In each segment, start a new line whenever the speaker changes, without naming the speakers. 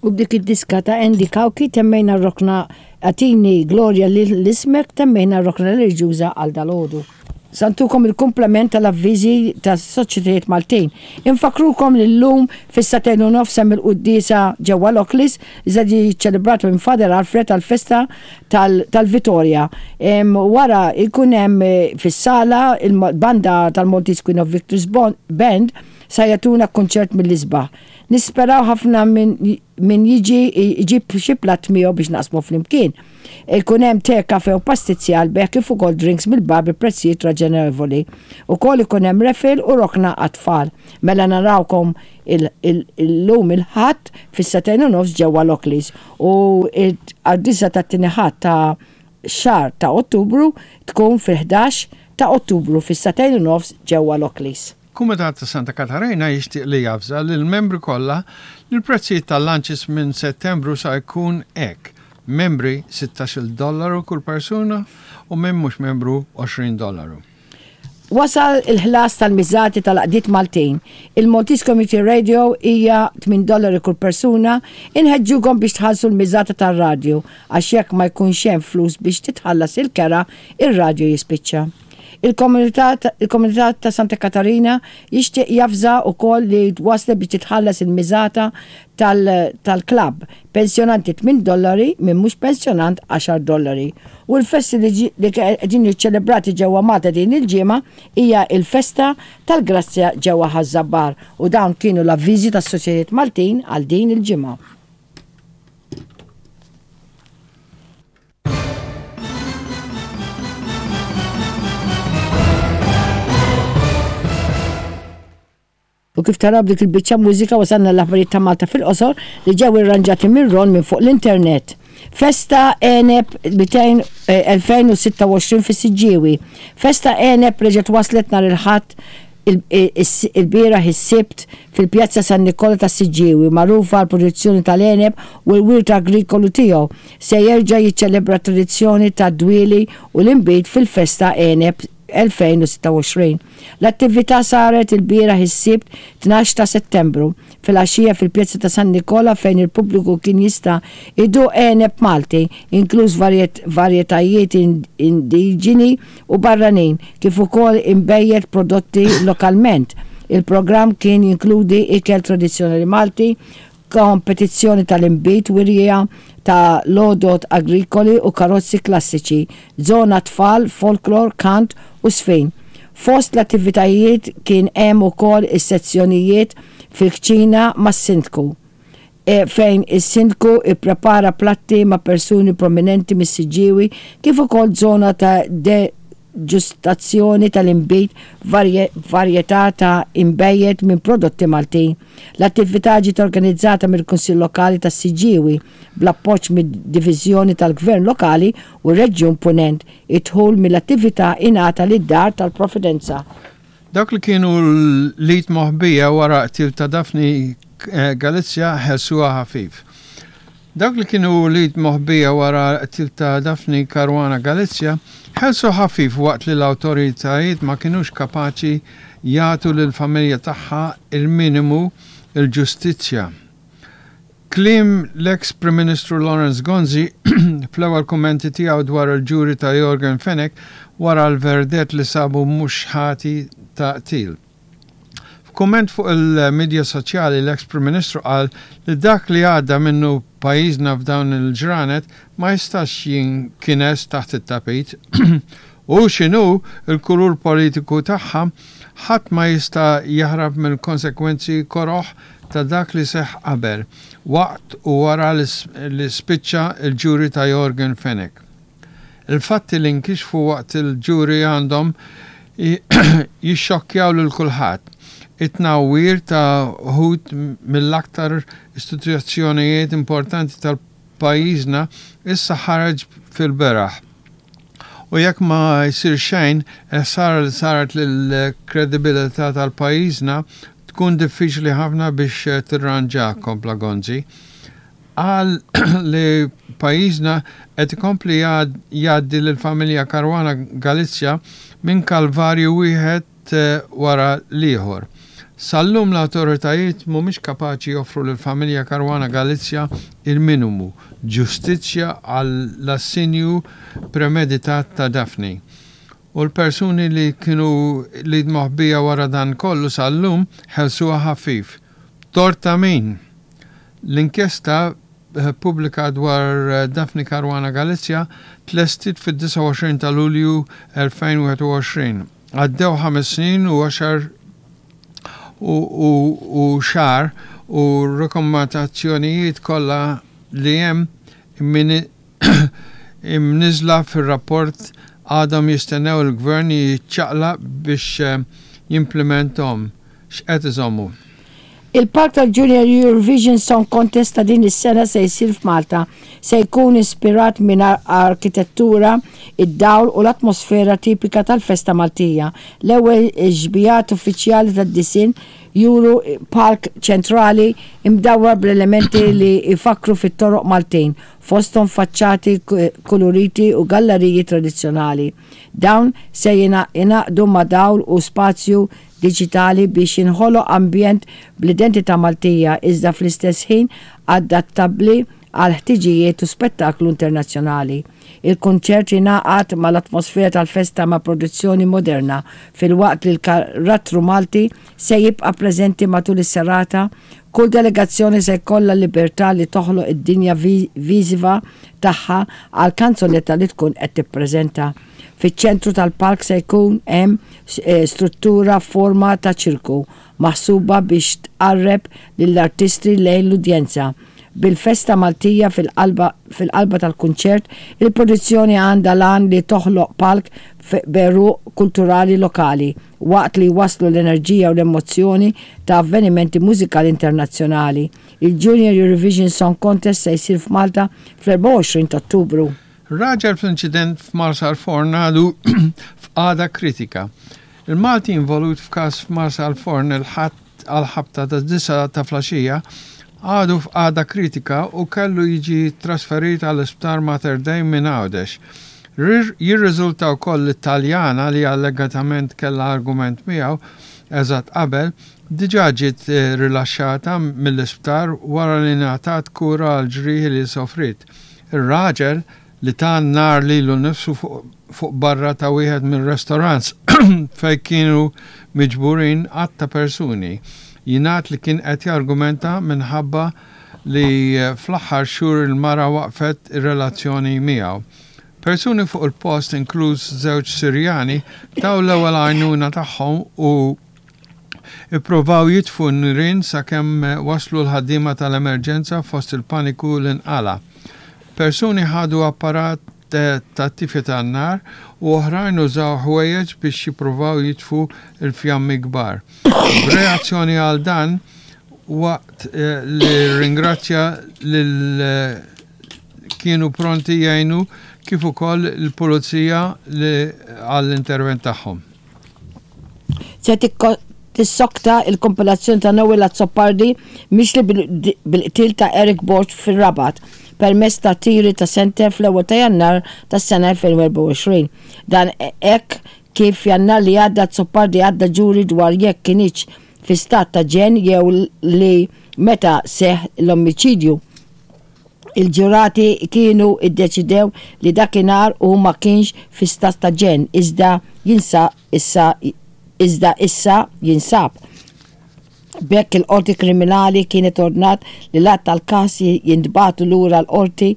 U b'dik id-diska ta' Andy Cauchi temmejna r-rokna Agħtini Glorja lil Ismek temmejna r-rokna reliġjuża għal dalgħodu. Sa ntukom il-kumplament tal-avviżi tas-Soċjetajiet Maltin. Infakkrukom li llum fis-sagħtejn u nofs hemm il-quddiesa ġewwa l-Oakleys li se tiġi ċċelebrata minn Father Alfred għall-festa tal-Vitorja. Wara jkun hemm fis-sala il-banda tal-Maltese Queen of Victories Band sa jagħtuna kunċert mill-isbaħ. Nisperaw ħafna min jiġi jġib xi platt miegħu biex naqsmu flimkien. Ikun hemm te, kafe u pastizzi għall-bejgħ kif ukoll drinks mill-bar bi prezzijiet raġonevoli. Ukoll ikun hemm raffle u rokna għat-tfal. Mela narawkom illum il-Ħadd fis-sagħtejn u nofs ġewwa l-Oakleys u l-qaddiesa tat-tieni Ħadd ta' xahar ta' Ottubru tkun fil-11 ta' Ottubru fis-sagħtejn u nofs ġewwa l-Oakleys.
Kumitat ta' Santa Katarina jixtieq li javża lill-membri kollha li l-prezzijiet tal-lunches minn Settembru sa jkun hekk, membri sittax-il dollaru kull persuna u min mhux membru 20 dollaru.
Wasal il-ħlas tal-miżati tal-għaqdiet Maltin. Il-Maltese Community Radio hija tmien dollari kull persuna. Inħeġġukom biex tħallsu l-miżata tar-radju għax jekk ma jkunx hemm flus biex titħallas il-kera, ir-radju jispiċċa. Il-komunità il-komunità ta' Santa Katarina jixtieq javża wkoll li waslet biex titħallas il-miżata tal tal-klabb, pensjonanti tminn dollari, min mhux pensjonant għaxar dollari. U l-festi li li qegħdin jiċċelebrati ġewwa Malta din il-ġimgħa hija il-festa tal-Grazzja ġewwa Ħaż-Żabbar u dawn kienu l-avviżi tas-Soċjetajiet Maltin għal din il-ġimgħa. U kif taraw b'dik il-biċċa mużika wasalna l-aħbarijiet ta' Malta fil-qosor li ġew irranġati minn Ron minn fuq l-internet. Festa Għeneb 2026 eh, fis-Siġġiewi. Festa Għeneb reġgħet waslet nhar il-Ħadd il-bieraħ is-Sibt fil-Pjazza San Nikola tas-Siġġiewi, magħrufa għall-produzzjoni tal-għeneb u l-wirt agrikolu tiegħu, se jerġa' jiċċelebra t-tradizzjoni tad-dwieli u l-inbid fil-Festa Għeneb 2026. L-attività saret ilbieraħ is-Sibt 12 ta' Settembru, filgħaxija fil-Pjazza ta' San Nikola fejn il-pubbliku kien jista' jduq għeneb Malti, inkluż varjetajiet indiġeni u barranin, kif ukoll inbejjed prodotti lokalment. Il-programm kien jinkludi ikel tradizzjonali Malti, kompetizzjoni tal-inbid, wirja ta' l-għodod agrikoli u karozzi klassiċi, żona tfal, folklor, kant u żfin. Fost l-attivitajiet kien hemm ukoll is-sezzjonijiet fil-kċina mas-Sindku. fejn is-Sindku ipprepara platti ma' persuni prominenti mis-Siġġiewi kif ukoll żona ta' degustazzjoni tal-inbid b'varjetà ta' inbejjed minn prodotti Maltin. L-attività ġiet organizzata mill-Kunsill Lokali tas-Siġġiewi bl-appoġġ mid-Diviżjoni tal-Gvern Lokali u r-Reġjun Punent. Id-dħul mill-attività ingħata lid-Dar tal-Providenza.
Dawk li kienu l-id moħbija wara qtil ta' Daphne Galizia ħelsuha ħafif. Dawk li kienu l-id moħbija wara qtil ta' Daphne Caruana Galizia ħelsu ħafif waqt li l-awtoritajiet ma kinux kapaċi jagħtu lill-familja tagħha il-minimu il-ġustizzja. Kliem l-eks Prim Ministru Lawrence Gonzi fl-ewwel kummenti tiegħu dwar il-ġuri ta' Yorgen Fenech wara l-verdett li sabu mhux ħati ta' qtil. F'kumment fuq il-midja soċjali l-eks Prim Ministru qal li dak li għadda minnu pajjiżna f'dawn il-ġranet ma jistax jinkines taħt it-tapit. Hu x'inhu l-kulur politiku tagħha, ħadd ma jista' jaħrab mill-konsekwenzi koroh ta' dak li seħħ qabel, waqt u wara li spiċċa l-ġuri ta' Yorgen Fenech. Il-fatti li nkixfu waqt il-ġuri għandhom jixxokkjaw lil kulħadd. It-tnawwir ta' wħud mill-aktar istituzzjonijiet importanti tal-pajjiżna issa ħareġ fil-beraħ. U jekk ma jsir xejn, il-ħsara li saret lill-kredibilità tal-pajjiżna tkun diffiċli ħafna biex tirranġa, kompla Gonzi. Qal li pajjiżna qed ikompli jgħaddi lill-familja Caruana Galizia minn kalvarju wieħed wara l-ieħor. Sal-lum l-awtoritajiet mhumiex kapaċi joffru lill-familja Caruana Galizia il-minimu, ġustizzja għall-assinju premeditat ta' Daphne. U l-persuni li kienu l-id moħbija wara dan kollu sal-lum ħelsuha ħafif. Tort ta' min? L-inkjesta pubblika dwar Daphne Caruana Galizia tlestiet fid-29 ta' Lulju 2021. Għaddew ħames snin u għaxar u xahar u r-rakkomandazzjonijiet kollha li hemm imniżżla fir-rapport għadhom jistennew il-Gvern jiċċaqlaq biex jimplimenthom. X'qed iżommu?
Il-palk tal-Junior Eurovision Song Contest ta' din is-sena se jsir f'Malta. Se jkun ispirat minn arkitettura, id-dawl u l-atmosfera tipika tal-festa Maltija. L-ewwel xbihat uffiċjali tad-disinn juru palk ċentrali imdawwar bl-elementi li jfakkru fit-toroq Maltin, fosthom faċċati kuluriti u galleriji tradizzjonali. Dawn se jingħaqdu ma' dawl u spazju diġitali biex jinħoloq ambjent bl-identità Maltija iżda fl-istess ħin adattabbli għal ħtiġijiet u spettaklu internazzjonali. Il-kunċert jingħaqad mal-atmosfera tal-festa ma' produzzjoni moderna filwaqt li l-karattru Malti se jibqa' preżenti matul is-serata. Kull delegazzjoni se jkollha l-libertà li toħloq id-dinja viżiva tagħha għall-kanzunetta li tkun qed tippreżenta. Fiċ-ċentru tal-palk se jkun hemm struttura f'forma ta' ċirku, maħsuba biex tqarreb lill-artisti lejn l-udjenza. Bil-festa Maltija fil-qalba tal-kunċert, il-produzzjoni għandha l-għan li toħloq palk b'għeruq kulturali lokali, waqt li jwasslu l-enerġija u l-emozzjoni ta' avvenimenti mużikali internazzjonali. Il-Junior Eurovision Song Contest se jsir f'Malta fl-24 ta' Ottubru.
Raġel fl-inċident f'Marsalforn għadu f'qagħda kritika. Il-Malti involut f'każ f'Marsalforn il-Ħadd għall-ħabta tad-disgħa ta' flaxija għadu f'qagħda kritika u kellu jiġi trasferit għall-Isptar Mater Dei minn Għawdex. Jirriżulta wkoll li Taljana li allegatament kellha argument miegħu eżatt qabel, diġà ġiet rilaxxata mill-isptar wara li ngħatat kura għall-ġrieħi li sofriet. Ir-raġel, li ta n-nar lilu nnifsu fuq barra ta' wieħed mir-restaurants fejn kienu miġburin għadd ta' persuni, jingħad li kien qed jargumenta minħabba li fl-aħħar xhur il-mara waqqfet ir-relazzjoni miegħu. Persuni fuq il-post, inkluż żewġ Sirjani, taw l-ewwel għajnuna tagħhom u Ippruvaw jitfu n-nirien sakemm waslu l-ħaddiema tal-emerġenza fost il-paniku li nqala'. Persuni ħadu apparat tat-tifi tan-nar u oħrajn użaw ħwejjeġ biex jippruvaw jitfu l-fjammi kbar. B'reazzjoni għal dan, waqt li rringrazzja lil kienu pronti jgħinu kif ukoll il-Pulizija li għall-intervent tagħhom.
Se tissokta il-kompilazzjoni ta' Noel Azzopardi mixli bil-qtil ta' Eric Borg fir-Rabat permezz ta' tiri ta' senter fl-ewwel ta' Jannar tas-sena 2024. Dan hekk kif f'Jannar li għadda Azzopardi għadda ġuri dwar jekk kinitx fi stat ta' ġenn jew li meta seħħ l-omiċidju. Il-ġurati kienu ddeċidew li dakinhar hu ma kienx fi stat ta' ġenn iżda jinsa issa iżda issa jinsab. B'hekk il-Qorti Kriminali kienet ordnat li l-att tal-każ jintbagħtu lura l-Qorti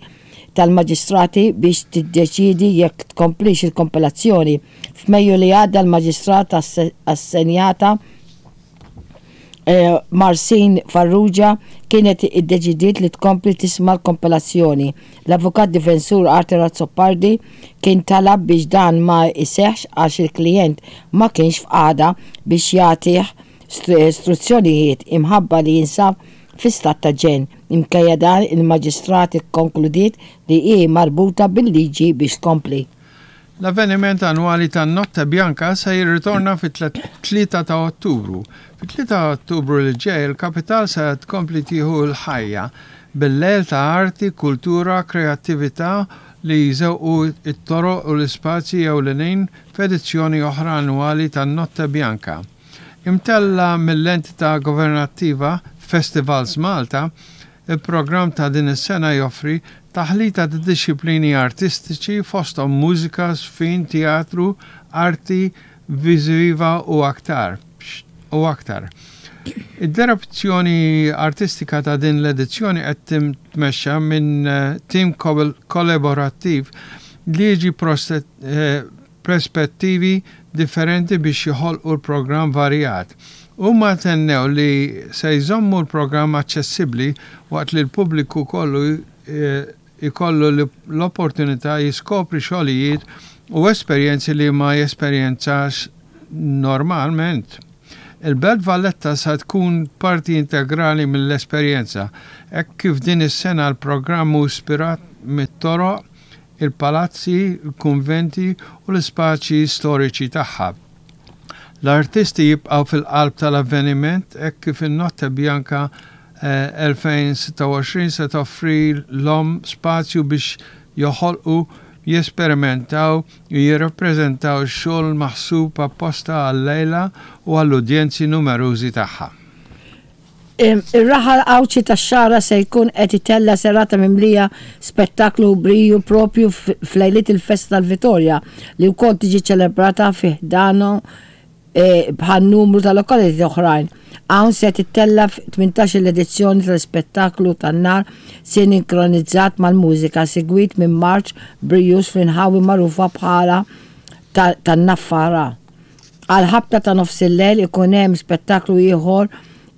tal-Maġistrati biex tiddeċiedi jekk tkomplix il-kompilazzjoni. F'Mejju li għadda l-Maġistrat assenjata Marcin Farrugia kienet iddeċidiet li tkompli tisma' l-kompilazzjoni. L-avukat difensur Arthur Azzopardi kien talab biex dan ma jseħħx għax il-klijent ma kienx f'qagħda biex jagħtih struzzjonijiet imħabba li jinsab fi stat ta' ġenn. Minkejja dan, il-Maġistrat ikkonkludiet li hi marbuta bil-liġi biex tkompli.
L-avveniment annwali tan-Notte Bianca se jirritorna fit-3 ta' Ottubru. Fit-3 ta' Ottubru li ġej, il-kapital se tkompli tieħu l-ħajja bil-lejl ta' arti, kultura, kreattività li jżewqu t-toroq u l-ispazji ewlenin f'edizzjoni oħra annwali tan-Notte Bianca. Imtella' mill-entità governattiva Festivals Malta, il-programm ta' din is-sena joffri taħlita ta' dixxiplini artistiċi fosthom mużika, żfin, teatru, arti viżiva u aktar u aktar. Id-direzzjoni artistika ta' din l-edizzjoni qed titmexxa minn tim kollaborattiv li jiġi prespettivi differenti biex joħolqu l-programm varjat. Huma tennew li se jżommu l-programm aċċessibbli waqt li l-pubbliku kollu jkollu l-opportunità jiskopri xogħlijiet u esperjenzi li ma jesperjenzax normalment. Il-Belt Valletta sa tkun parti integrali mill-esperjenza, hekk kif din is-sena l-programm hu ispirat mit-toroq, il-palazzi, il-kunventi u l-ispaċji storiċi tagħha. L-artisti jibqgħu fil-qalb tal-avveniment hekk kif in-Notte Bianca 2026 se toffrilhom spazju biex joħolqu, jesperimentaw u jirrappreżentaw xogħol maħsub apposta għal-lejla u għall-udjenzi numerużi tagħha.
Ir-raħal Għawdxi tax-Xagħra se jkun qed itella' serata mimlija spettaklu u briju proprju f'lejliet il-festa tal-Vitorja li wkoll tiġi ċċelebrata fi ħdanu bħal numru ta' lokalitajiet oħrajn. Hawn se tittella' 18-il edizzjoni tal-ispettaklu tan-nar sinkronizzat mal-mużika segwit minn marċ brijuż fl-inħawi magħrufa bħala tan-Naffara. Għall-ħabta ta' nofsillejl ikun hemm spettaklu ieħor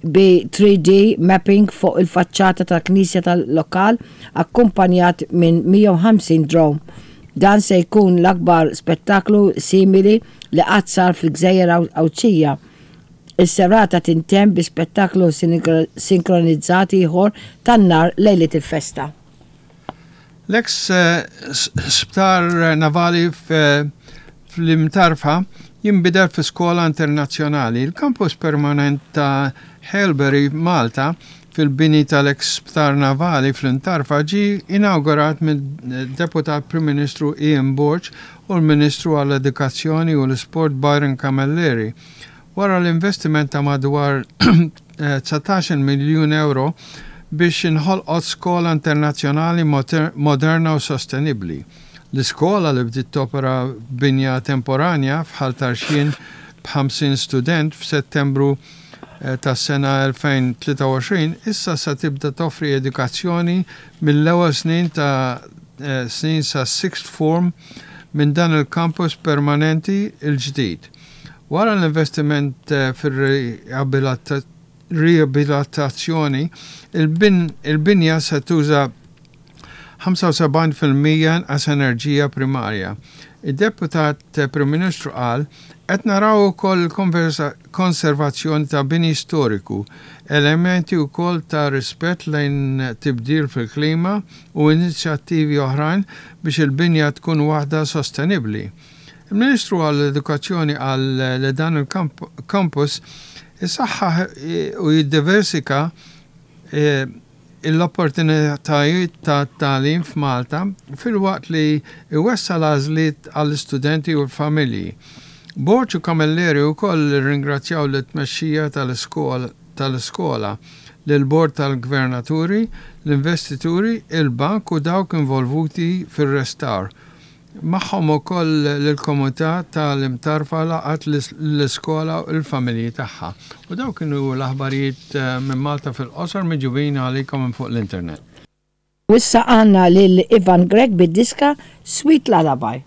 bi 3D mapping fuq il-faċċata tal-knisja tal-lokal akkumpanjat minn 150 drone. Dan se jkun l-akbar spettaklu simili li qatt sar fil-gżejjer Għawdxija. Is-serata tintemm bi spettaklu sinkronizzat ieħor tan-nar lejliet il-festa.
L-eks sptar navali fl-Imtarfa jinbidel fi skola internazzjonali. Il-kampus permanent ta' Haileybury Malta fil-bini tal-eks sptar navali fl-Imtarfa ġie inawgurat mid-Deputat Prim Ministru Ian Borg u l-Ministru għall-Edukazzjoni u l-Isport Byron Camilleri wara l-investiment ta' madwar 19-il miljun ewro biex inħolqot skola internazzjonali moderna u sostenibbli. L-iskola li bdiet topera f'binja temporanja f'Ħal Tarxien b'50 student f'Settembru tas-sena 2023 issa se tibda toffri edukazzjoni mill-ewwel snin ta' snin sas-sixth form minn dan il-kampus permanenti l-ġdid. Wara l-investiment fir-riabilitazzjoni, il-binja se tuża 75% inqas enerġija primarja. Id-Deputat Prim Ministru qal, Qed naraw ukoll il-konservazzjoni ta' bini storiku, elementi wkoll ta' rispett lejn tibdil fil-klima u inizjattivi oħrajn biex il-binja tkun waħda sostenibbli. Il-Ministru għall-Edukazzjoni qal li dan il-campus isaħħaħ u jiddiversika l-opportunitajiet ta' tagħlim f'Malta filwaqt li jwessa' l-għażliet għall-istudenti u l-familji. Borg u Camilleri wkoll irringrazzjaw lit-tmexxija tal-iskola, lill-Bord tal-Gvernaturi, l-investituri, il-bank u dawk involvuti fir-restawr Magħhom ukoll lill-komunità ta' l-Imtarfa laqgħet l-iskola u l-familji tagħha. U dawk kienu l-aħbarijiet minn Malta fil-qosor miġjubin għalikom minn fuq l-internet.
U issa għandna lil Ivan Grech bid-diska Sweet Lullaby.